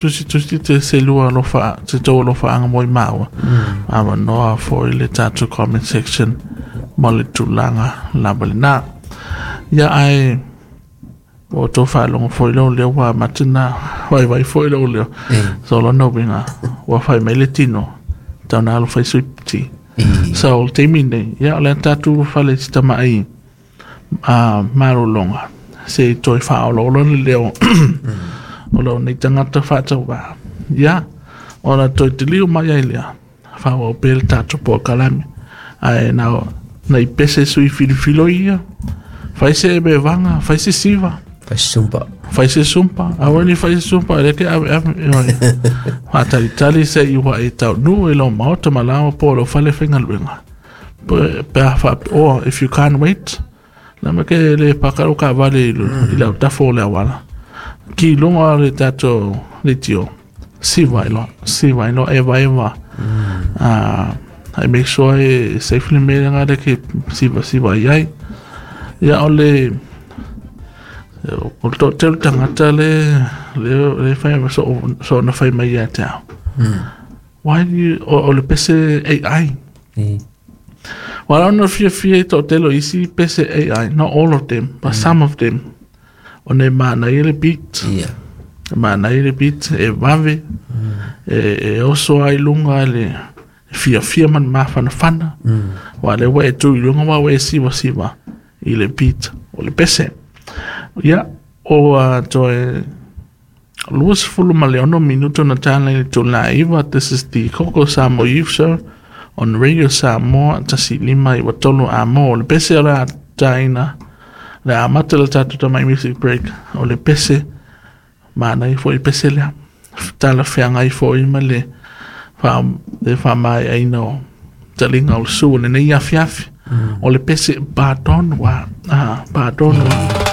Tusitusi te selua alofa se tou alofaaga mo i maua avanoa foi le tatou comment section mo le tulaga lava lena. Ia ae ua outou faalogo foi lou leo ua amata ona vaivai foi lou leo. So lona uiga ua fai mai le tino tau na alofa i suipti. So o le taimi nei, ia o le a tatou fale i si tamai a malologa se i toe faaolaola le leo o lou nei tagata faatauvaa. Ia, ona toe taliu mai ai lea, faaauau pea le tatou polokalame. Ae na, na i pese sui filifilo ia, fai se evevaga, fai se siva. Fai se sumpa. Fai se sumpa. Aua ni fai se sumpa, e le ke ave ave. Faatalitali se i ua e taunuu i lou maota ma laoa po o lou fale faigaluega. Pe a faapea, or if you can't wait, lama ke le paka lou taavale i le autafa o le auala. Ki i luga o le tatou leitio, siva ai loa, siva ai loa, evaeva. Ah, I make sure e safe le mea lena le ke sivasiva i ai. Ia o le o le toatele tagata le le le fai so so na fai mai ia te au. Why do you, o le pese AI. Wala ona fiafia i toatele o isi pese AI, not all of them, but some of them. Ona e manaia le beat. E manaia le beat, e vave, e oso ai luga le fiafia ma le mafanafana. Aua o lea ua e tu i luga ma ua e sivasiva i le beat o le pese. Ia, o toe 26 minuto na tala i le itula e 9. This is the Koko Samoa Youth Show on Radio Samoa 105 3 Amo. O le pese o le a taina, le a amata le tatou tamai music break, o le pese, manaia foi le pese lea. Talafeagai foi ma le le faamaeaina o taliga o le su o lenei afiafi. O le pese Pardon wa, ah, Pardon wa.